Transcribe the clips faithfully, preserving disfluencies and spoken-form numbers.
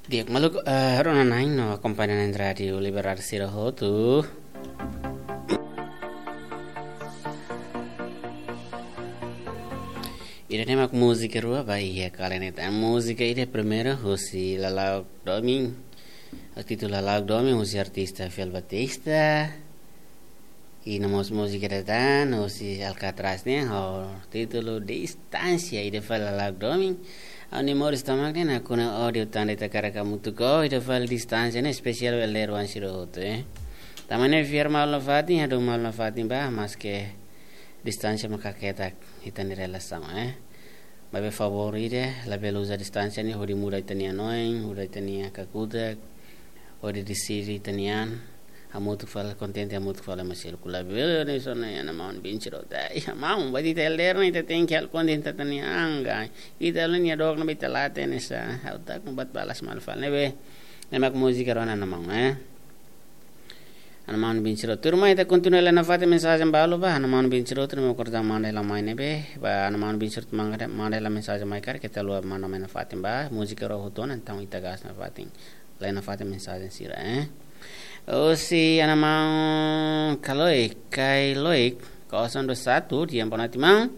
Di'ak maluk, eh, rona-na'in no akompaña na'in Rádiu Liberdade sira hotu. Ida-ne'e mak múzika rua ba iha kala ne'e tan. Múzika ida primeiru husi Lala'ok Domin. Títulu Lala'ok Domin husi artista Fiel Batista. I no mós múzika ida tan husi Alcatraz nian ho títulu Distánsia, ida fali Lala'ok Domin. Ha'u-nia moris tomak ne'e nakonu ódiu tan ita hakarak hamutuk, ida fali Distánsia ne'e espesiál ba elder-oan sira hotu, eh. Tanba ne'e fiar malu nafatin, hadomi malu nafatin ba, maske distánsia mak haketak ita-nia relasaun, eh. Maibé favór ida, labele uza distánsia ne'e hodi muda ita-nia hanoin, muda ita-nia kakutak, hodi deside ita-nia an, hamutuk fali, kontente hamutuk fali, maseluk labele ne'e só ne'e, ana maun bin sira hotu. Ai, ana maun, buat ita elder ne'e ita tenke halo kontente ita-nia an ka. Ita halo nia dook ne'ebé ita la hatene sá, ha'u tak buat balas malu fali ne'ebé. Ne'e mak múzika rua ona, ana maun, eh. Ana maun bin sira hotu, tuirmai ita kontinua lai nafatin mensajen balu ba, ana maun bin sira hotu, ne'e mak kordang maun dela mai ne'ebé, ba ana maun bin sira hotu manda, manda hela mensajen mai karik ita la'o manda mai nafatin ba, múzika rua hotu ona, entaun ita gas nafatin. Lai nafatin mensajen sira, eh. Husi ana maun Kaloik, Kailoik, kosong dua satu, di'ak, boa noite maun.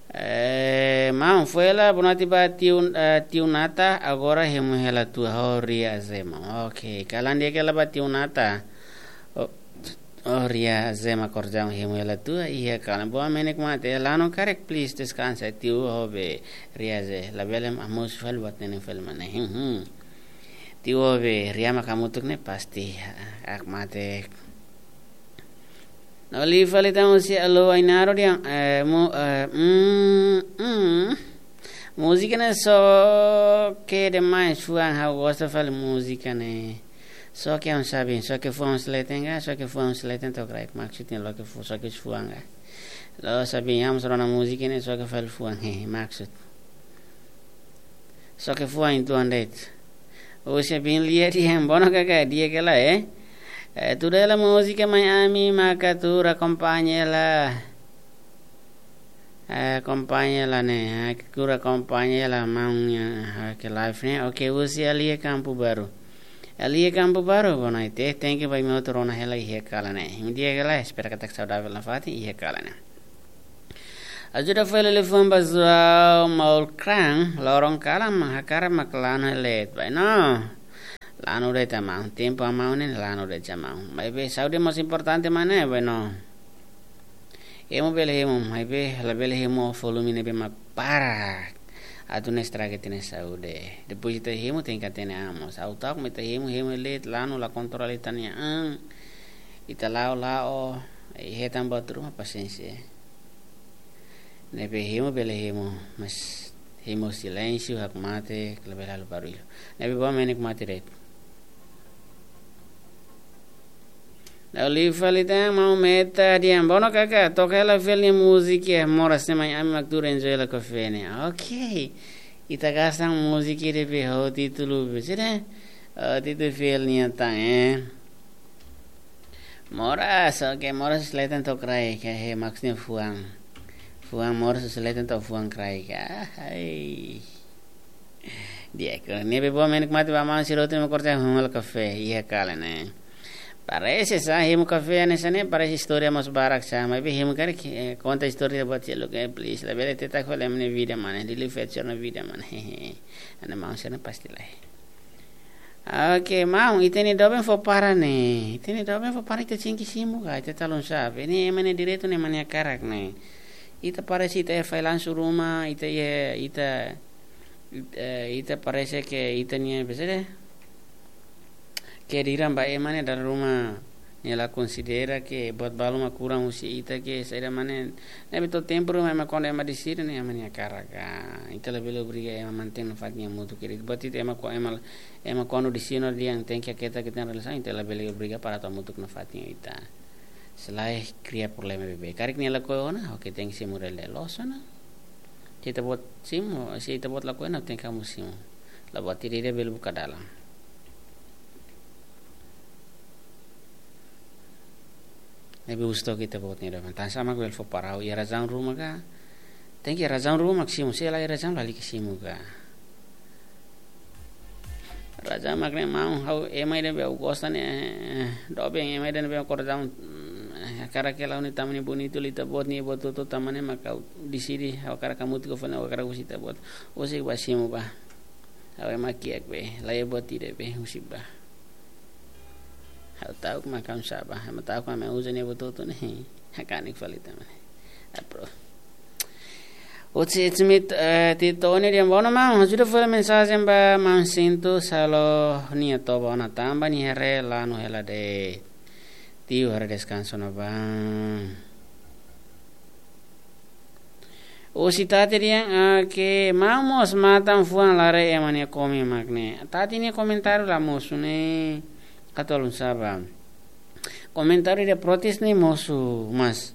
Eh, maun, foin hela boa noite ba tiu, eh, tiu Nata, agora hemu hela tua ho Ria Zema. Ok, kalan di'ak hela ba tiu Nata. Oh, oh, Ria Zema, kordang hemu hela tua, iha kalan. Boa, menek mate, lanu karik, please, deskansa, tiu ho be, Ria Ze, labele hamoos fali buat ne'e fali mana. Hmm, hmm. Tiu ho be, Ria mak hamutuk ne'e pasti, ah, ak mate. No liu fali tan husi Alô Ainaro dehan, eh, mu-, eh, mm, mm. Múzika ne'e xoke demais, fuan, ha'u gosta fali múzika ne'e. Xoke, ha'u sabe, xoke fuan husi leten ka, xoke fuan husi leten to'o kraik, maksudnya loke fu-, xoke husi fuan ka. La'ós sabe, ha'u mós rona múzika ne'e xoke fali fuan, he, maksud. Xoke fuan uitoan de'it. Husi Bin Lia dehan, bono kaka, di'ak hela, eh. Eh, tuda hela múzika mai ami, maka tuur akompaña hela. Eh, akompaña hela ne'e, eh, tuur akompaña hela maun nia, eh, ke live ne'e. Ok, husi Alia Campo Baru. Alia Campo Baru, boa noite. Thank you ba imi hotu rona hela iha kalan ne'e. Imi di'ak hela, espera katak saudavel nafatin iha kalan ne'e. Ajuda fali liafuan ba João Maulkran, loron kalan mak hakarak mak lanu hela de'it, bainhira lanu de'it, amá. Tempu amá ne'e lanu de'it, amá. Maibé saúde mós importante, maun, ne'e, bainhira hemu bele hemu, maibé labele hemu volume ne'ebé mak para. Atu ne'e estraga ita-nia saúde. Depois ita hemu tenke hatene an mós. Ha'u ta'uk mak ita hemu, hemu hela de'it, lanu la kontrola ita-nia an. Ita la'o, la'o, eh, hetan buat ruma, pasiénsia. Ne'ebé hemu bele hemu, mas hemu silénsiu, hakmatek, labele halo barullu. Ne'ebé boa, menek mate de'it. La'o liu fali tan, maun Meta dehan, bono kaka, toka hela Fiel nia múzika, moras ne'e mai ami mak tuur enjoy hela kafé ne'e. Ok. Ita gas tan múzika ida be ho títulu be, sira. Oh, títulu Fiel nian tan, eh. Moras, ok, moras husi leten to'o kraik, he, maksudnya fuan. Fuan, moras husi leten to'o fuan kraik. Ah, hai. Di'ak, ne'ebé boa, menek mate ba maun sira hotu, imi kordang hemu hela kafé, iha kalan ne'e. Parese sá, hemu kafé hanesan ne'e, parese istória mós barak sá, maibé hemu karik, eh, konta istória buat seluk, eh, please, labele tetak fali ami-nia vida, maun, dili feature na vida, maun. Hehe. Ana maun sira pasti lae. Ok, maun, ita-nia doben fó para ne'e. Ita-nia doben fó para, ita tenke simu ka, ita talun sabe. Ne'e ema nia direitu, ne'e ema nia hakarak ne'e. Ita parese ita iha failansu ruma, ita iha, ita, ita, ita parese ke ita-nia, besede. Ke diram ba ema ne'e dala ruma nia la konsidera ke buat balu mak kurang husi ita ke saida, maun, ne'e. Ne'ebé to'o tempu ruma ema kuandu ema deside ne'e ema nia hakarak ka. Ita labele obriga ema mantein nafatin hamutuk, ke buat ita ema ko-, ema, ema kuandu deside dehan tenke haketak ita-nia relasaun, ita labele obriga para atu hamutuk nafatin ho ita. Se lae kria problema beibeik. Karik nia lakohi ona, ok, tenke simu hela de'it, loos ona. Se ita-boot simu, se ita-boot lakohi ona, tenke hamoos simu. La buat ida-ida bele buka dalan. Ne'ebé husu took ita-boot nia doben. Tansá mak bele fó para, iha razaun ruma ka? Tenke iha razaun ruma mak simu, se la iha razaun lalika simu ka. Razaun mak ne'e maun, ha'u ema ida ne'ebé ha'u gosta ne'e, eh, doben ema ida ne'ebé ha'u kordau, mm, eh, hakarak hela ha'u-nia tama ne'e bonitu, ita-boot nia buat hotu-hotu tama ne'e mak ha'u deside, ha'u hakarak hamutuk ho fali, ha'u hakarak husik ita-boot. Husik bá simu bá. Ha'u ema kiak be, la iha buat ida be, husik bá. Ha'u ta'uk mak ha'u sá bá, ema ta'uk mak ema uza nia buat hotu ne'e, hakanek fali tama ne'e. Apro. Oci Smith, eh, Tito Oni dehan: "Boa noite, maun. Ajuda fali mensajen ba maun Sintu, salo nia toba ona tanba nia haree lanu hela de'it. Tiu haree deskansa ona bá." Oci Tati dehan, ah, ke maun mós matan fuan la haree ema nia komen mak ne'e. Tati nia komentáriu la mosu ne'e, katualun sá bá. Komentáriu ida protes ne'e mosu, mas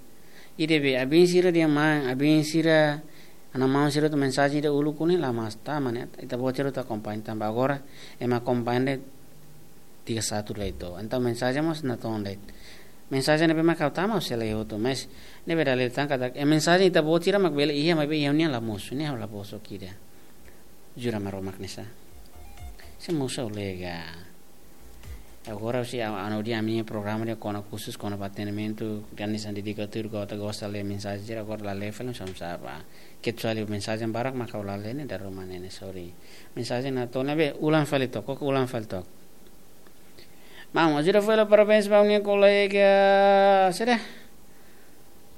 ida be, abin sira dehan maun, abin sira, ana maun sira hotu mensajen ida uluk ne'e la mas tama ne'e, ita-boot sira hotu akompaña tanba agora ema akompaña de'it tiga satu lai to. Entaun mensajen mós natoon de'it. Mensajen ne'ebé mak ha'u tama ha'u sei la iha hotu, mas ne'ebé dalil tan katak, eh, mensajen ita-boot sira mak bele iha, maibé iha ne'e la mosu, ne'e ha'u la bosok ida. Jura Maromak ne'e sá. Sei mosu ha'u lega. Agora se a, a no dia ami programa ida kona khusus kona-ba atendimentu, dan di sandi di katur kota gosta lee mensajen sira, agora la lee fali, sam saba. Kecuali mensajen barak mak ha'u la lee ne'e, dala ruma ne'e, sorry. Mensajen natoon ne'ebé, ulang fali took, ulang fali took. Maun, ajuda fali, parabéns ba ha'u-nia kolega, saida?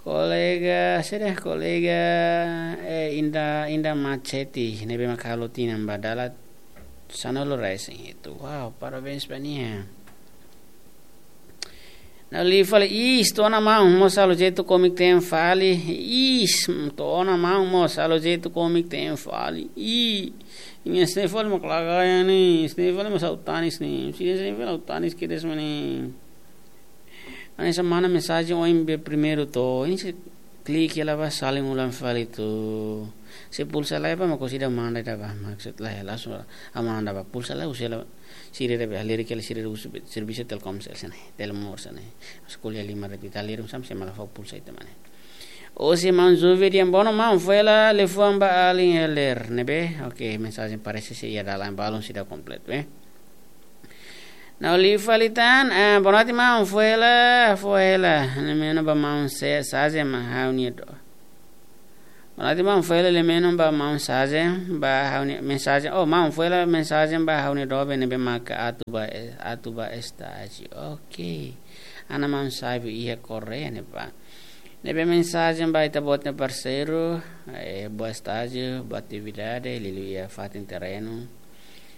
Kolega, saida? Kolega, eh, Inda, Inda Machete, ne'ebé mak halo tinan ba dala sanulu-resin-hitu. Wow, parabéns ba nia. Na'in liu fali, is, to'o ona maun mós halo jeitu kómiku te'in fali. Is, to'o ona maun mós halo jeitu kómiku te'in fali. Ih, imi sne fali mak laga ya ni, sne fali mak ha'u tanis ni. Sne fali ha'u tanis kedas mak ne'e. Hanesan mana mensajen ohin be primeiru to'o, imi sei klik hela bá, salin ulang fali to'o. Se pulsa laiha bá, mak ha'u sei ida manda ida bá, maksud laiha, langsung ha'u manda bá, pulsa laiha, husi hela, sira ida be, halerik hela, sira ida husu be, servisu Telkomsel sira-ne'e, Telemor sira-ne'e. Mas ko'alia lima retu ita lirum sam, sei mala fó pulsa ita mak ne'e. Oci maun Juve dehan: "Boa noite maun, fó hela liafuan ba alin Heller ne'ebé." Oke, mensajen parese sei iha dalan, balun seidauk kompletu, eh. Na'in liu fali tan, ah, boa noite maun, fó hela, fó hela lemeno ba maun se sajen mak ha'u-nia do. Boa noite maun, fó hela lemeno ba maun sajen, ba ha'u-nia mensajen. Oh, maun, fó hela mensajen ba ha'u-nia doben ne'ebé maka atu bá, eh, atu bá estájiu. Oke. Ana maun Saibu iha Koreia ne'ebá. Ne'ebé mensajen ba ita-boot nia parseiru, eh, boa estájiu, boa atividade, liuliu iha fatin terrenu.